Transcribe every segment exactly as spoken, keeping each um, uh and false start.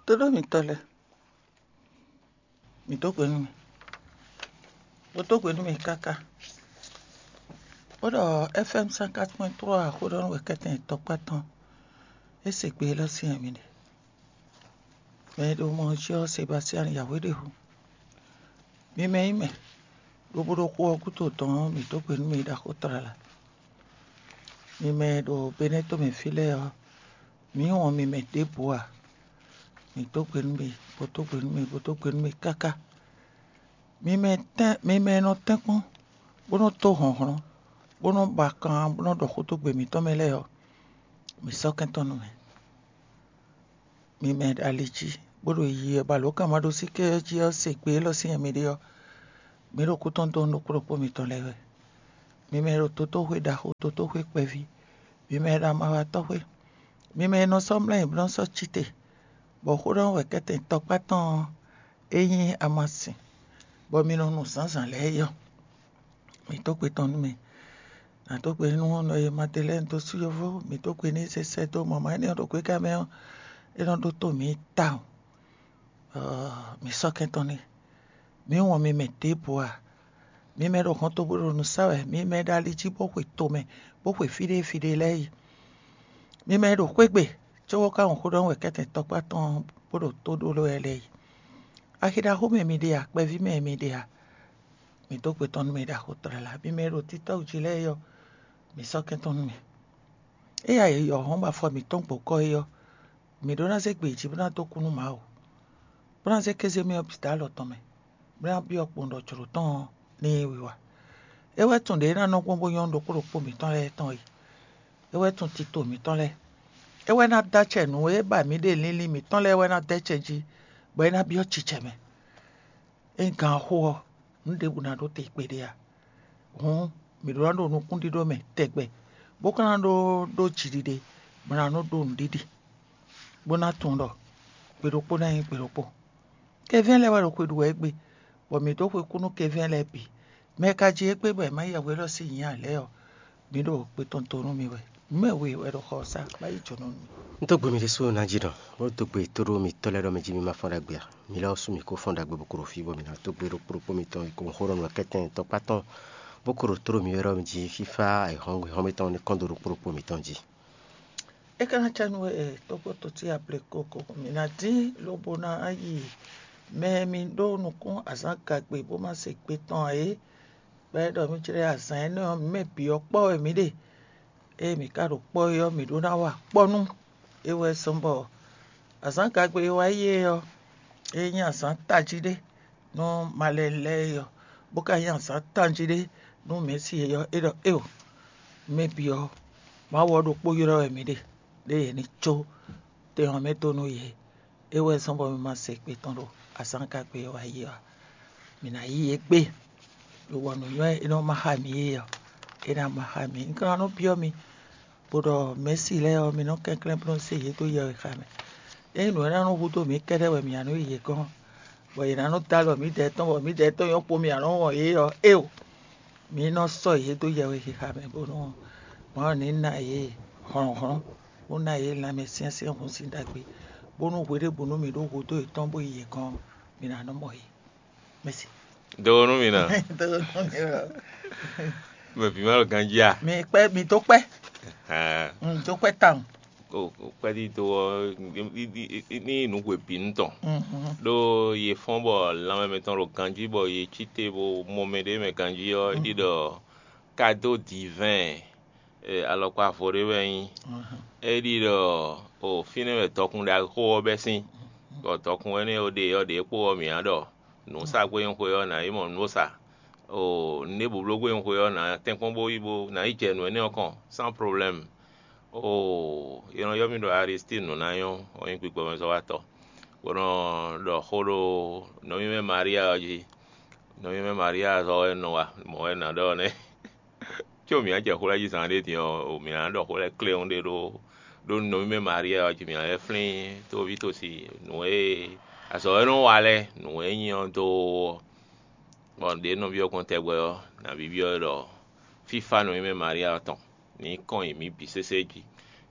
Tóɖó mitɔ́ lɛ́ɛ, mǐ dó gbe nú mi, bó dó gbe nú mi káká, bó ɖɔ F M cent quatre point trois xó ɖɔ nú wɛ kɛ́tɛn tɔkpá tɔn, é se gbe élɔ́ sín wɛ mi ɖe. Mɛ e ɖo mɔ jí ɔ́, Sebastian Yahweh ɖe hu. Mi mɛ nyí mɛ, lobo ɖo xó ɔ́ gúdo dɔn ɔ́, mǐ dó gbe nú mi ɖaxó tlala. Mi mɛ e ɖo Benɛ́ tomɛ fí lɛ́ɛ ɔ́, mǐ wɔn mi mɛ ɖěbǔ ǎ. Mǐ dó gbe nú mi, bó dó gbe nú mi, bó dó gbe nú mi káká. Mi mɛ tɛ́n, mi mɛ e nɔ tɛ́nkpɔ́n, bó nɔ́ tó hlɔ̌nhlɔ́n, bó nɔ́ ba kan, bó nɔ́ ɖɔ xó dó gbe mǐtɔn mɛ lɛ́ɛ ɔ́, mǐ sɔ́ kɛntɔ́ nú mi. Mi mɛ e ɖo ali jí, bó ɖo yiyi wɛ, bɔ alǒkanmaɖósíké ɔ́ jí ɔ́ se gbe élɔ́ sín wɛ mi ɖe ɔ́, mi ɖo kú tɔn dó nú ɖokpó ɖokpó mitɔn lɛ́ɛ wɛ. Mi mɛ e ɖo dotóxwé ɖaxó, dotóxwé kpɛví, mi mɛ e ɖo amawatɔ́xwé, mi mɛ e nɔ sɔ́ mlɔ́ ayǐ bó nɔ́ sɔ́ cí te, bɔ xó ɖɔ wɛ kɛ́tɛn tɔkpá tɔn ɔ́, é nyí amasin, bɔ mi nɔ nu zǎnzǎn lɛ́ɛ é ɔ́, mǐ dó gbe tɔn nú mi. Nǎ dó gbe nú nɔ e Madelɛ́ni dó sú yovó, mǐ dó gbe n'i sɛsɛ dó mɔ̌ má énɛ́ ɔ́ ɖo gbéká mɛ ɔ́, é nɔ ɖótó mǐ tawun. Ɔ́, mǐ sɔ́ kɛntɔ́ n'i. Mǐ wɔn mi mɛ ɖěbǔ ǎ. Mi mɛ ɖo hɔntogbó ɖo nǔ sa wɛ, mi mɛ ɖo ali jí bó xwe tomɛ, bó xwe fí ɖé fí ɖé lɛ́ɛ yi. Mi mɛ ɖo xwé gbe, cóbó ka wɔn xó ɖɔ wɛ kɛ́tɛn tɔkpá tɔn bó ɖo tó ɖó lɛ́ɛ yi. Axi ɖaxó mɛ mi ɖe a, kpɛví mɛ mi ɖe a, mǐ dó gbe tɔn nú mi ɖaxó tlala. Mi mɛ ɖo títɔ́ jí lɛ́ɛ ɔ́, mǐ sɔ́ kɛntɔ́ nú mi. Éyɛ́ e yɔ̌hɔn ba afɔ mǐtɔn gbǒkɔ́ é ɔ́, mǐ ɖó ná zé gbe jí bó ná dó kú nú Mawu, bó ná zé kéze mì ɔ́ bǐ dó alɔ tɔn mɛ, bó ná byɔ́ kpowun ɖɔ jlǒ tɔn ɔ́ ní nyí wiwa. É wɛ tunwun ɖě é ná nɔ gbɔn bó nyɔ́ ɖokpó ɖokpó mǐtɔn lɛ́ɛ tɔn e. É wɛ tunwun tito mǐtɔn lɛ́ɛ. É wɛ ná dó acɛ nǔ e ba mǐ ɖe linlin mǐtɔn lɛ́ɛ wɛ ná dó acɛ jí, bɔ é ná byɔ́ cicɛ mɛ. Ényí gan ɔ́ xo ɔ́, nǔ ɖěbǔ ná ɖó te kpéɖé ǎ. Hǔn, mǐ ɖó ná ɖo nukúnɖíɖó mɛ tɛgbɛ, bó ka ná ɖó ɖó jiɖiɖe, bó ná nɔ́ ɖó nǔɖiɖi, bó ná tunwun ɖɔ gbe ɖokpó ná nyí gbe ɖokpó. Kɛvɛ́n lɛ́ɛ wɛ ɖo xwe ɖu wɛ égbé, bɔ mǐ dó xwe kú nú kɛvɛ́n lɛ́ɛ bǐ. Mɛ e ka ji égbé bɔ è má yɛ hwelɔ́ sín nyǐ ǎ lɛ́ɛ ɔ́, mǐ ɖo gbe tɔn to nú mi wɛ. Nǔ mɛ we wɛ ɖo xɔ ɔ́ sá, bó ná yi jǒnɔ nú mi. Un dó gbe mi ɖésú ná jí ɖɔ, bó dó gbe tóɖó mitɔ́ lɛ́ɛ ɖɔ mɛ jí mi ma fɔ́n ɖagbe ǎ. Mi lɛ́ ɔ́ sú mi kó fɔ́n ɖagbe bó kó ɖo fí, bɔ mi ná dó gbe ɖokpó ɖokpó mitɔn e ko xó ɖɔ nǔ wɛ kɛ́tɛn tɔkpá tɔn, bó ko ɖo tóɖó mi wɛ ɖɔ mɛ jí fífá e hɔn hɔn mitɔn ní kɔn dó ɖokpó ɖokpó mitɔn jí. É ka ná cá nú we tɔ́gbɔ́ tɔ́ ce ablekoko, mǐ ná dín lobo ná yi mɛ e mi ɖó nukún azǎn gagbe bó ma se gbe tɔn ǎ é. Gbɛ́ ɖɔ mí jlɛ́ azǎn énɛ́ ɔ́, mǐ mɛ bǐ ɔ́ kpɔ́ wɛ mǐ ɖe. Ée mǐ ka ɖo kpɔ́ é ɔ́, mǐ ɖó ná wa kpɔ́ nú é wɛ zɔ́n bɔ azǎn gagbe e wá yi é ɔ́, é nyí azǎn tají ɖé nú malɛnu lɛ́ɛ é ɔ́, bó ka nyí azǎn tají ɖé nú mɛ̌si é ɔ́, é ɖɔ éeǒ, mɛ bǐ ɔ́, Mawu ɔ́ ɖokpó ylɔ́ wɛ mǐ ɖe, ɖé yě ní có tɛn ɔ́ mɛ dó nú yě. É wɛ zɔ́n bɔ mi ma se gbe tɔn ɖo azǎn gagbe e wá yi ɔ́ ǎ. Mǐ ná yí yě gbe, ɖo bɔ nǔnywɛ́ e nɔ ma xá mǐ é ɔ́, é ná ma xá mǐ. Un ka ná nɔ byɔ́ mi, bó ɖɔ mɛ̌si lɛ́ɛ ɔ́, mi nɔ kɛnklɛ́n bó nɔ se yě dó yɛwexá mɛ. Ényí nǔ e ná nɔ hudó mǐ kɛ́ɖɛ́ wɛ mǐ ná nɔ yi yě gɔ́n, bɔ yě ná nɔ dó alɔ mǐdɛɛ tɔn, bɔ mǐdɛɛ tɔn nyɔ́ kpo mǐ ná nɔ wɔn yě ɔ́, éeǒ. Mǐ nɔ sɔ́ yě dó yɛwexíxa mɛ bónú Mawu ní ná yě hlɔ̌nhlɔ́n, bó ná yě lanmɛ syɛ́nsyɛ́n hun sín ɖagbe, bónú hweɖěbǔnu mǐ ɖó hudó yětɔn bó yi yě gɔ́n ɔ́, mǐ ná nɔ mɔ yě. Mɛ̌si. Do nú mì ná. Mɛ bǐ ma ɖo ganjí a? Mi kpɛ́, mi dó kpɛ́. Hɛn. Un dó kpɛ́ tawun. Kpɛ́dídó ɔ́ ní nǔ hwe bǐ nu tɔn. Ɖó yě fɔ́n bɔ lanmɛ mɛtɔn ɖo ganjí bɔ yě cí te bó mɔ mɛ ɖé mɛ ganjí ɔ́, é ɖi ɖɔ kado divɛn alɔkpa vo ɖé wɛ nyí. É ɖi ɖɔ o fínɛ́ wɛ dɔkun ɖaxó ɔ́ bɛ́ sín, bɔ dɔkun énɛ́ e ɖe ɔ́ ɖě kpó ɔ́ mǐ ná ɖɔ nǔ sa gbé nyí xwe ɔ́ nǎ yi mɔ nǔ sa. O nǔɖé blóbló gbé nyí xwe ɔ́ nǎ tɛ́nkpɔ́n bó yi bó nǎ yi jɛ nǔ énɛ́ ɔ́ kɔn sans problème. Oo, è nɔ ylɔ́ mì ɖɔ Aristín nǔnáyɔ́, ɔ́ nyí gbigbɔmɛzɔ́watɔ́, bó nɔ ɖɔ xó ɖó nɔví mɛ Maria ɔ́ jí. Nɔví mɛ Maria zɔ wɛ nɔ wa, mɔ̌ wɛ nǎ ɖɔ nɛ́. Có mǐ ná jɛ xó lɛ́ɛ jí zǎn ɖé din ɔ́, mǐ ná ɖɔ xó lɛ́ɛ kléwún ɖé ɖó ɖó nɔví mɛ Maria ɔ́ jí, mǐ ná lɛ́ flín tóví tosi nǔ e azɔ̌ e nɔ wa lɛ́ɛ, nǔ e nyí ɔ́ dó ɔ́. Bɔ ɖě nɔví ɔ́ gbɔn tɛgbɛ ɔ́, nǎ byɔ́ ɛ ɖɔ fífá nɔví mɛ Maria ɔ́ tɔn ní kɔn nyi mǐ bǐ sésé jí.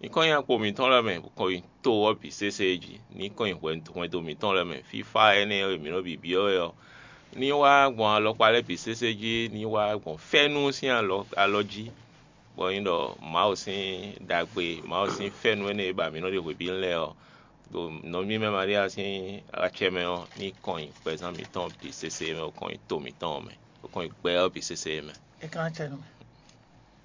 Ní kɔn nyi akpo mǐtɔn lɛ́ɛ mɛ, bó kɔn nyi to ɔ́ bǐ sésé jí, ní kɔn nyi hwɛndo mǐtɔn lɛ́ɛ mɛ. Fífá énɛ́ e mǐ nɔ bǐbyɔ́ wɛ ɔ́, ní wá gbɔn alɔkpa lɛ́ɛ bǐ sésé jí, ní wá gbɔn fɛ́nú sín alɔ jí, bɔ nyí ɖɔ Mawu sín ɖagbe, Mawu sín fɛ́nú énɛ́ e ba mǐ nɔ ɖe hwebǐnu lɛ́ɛ ɔ́, ɖo nɔví mɛ Malia sín acɛ mɛ ɔ́, ní kɔn nyi gbɛzán mǐtɔn bǐ sésé mɛ, bó kɔn nyi to mǐtɔn mɛ, bó kɔn nyi gbɛ ɔ́ bǐ sésé mɛ. É ka ná cɛ nú mì.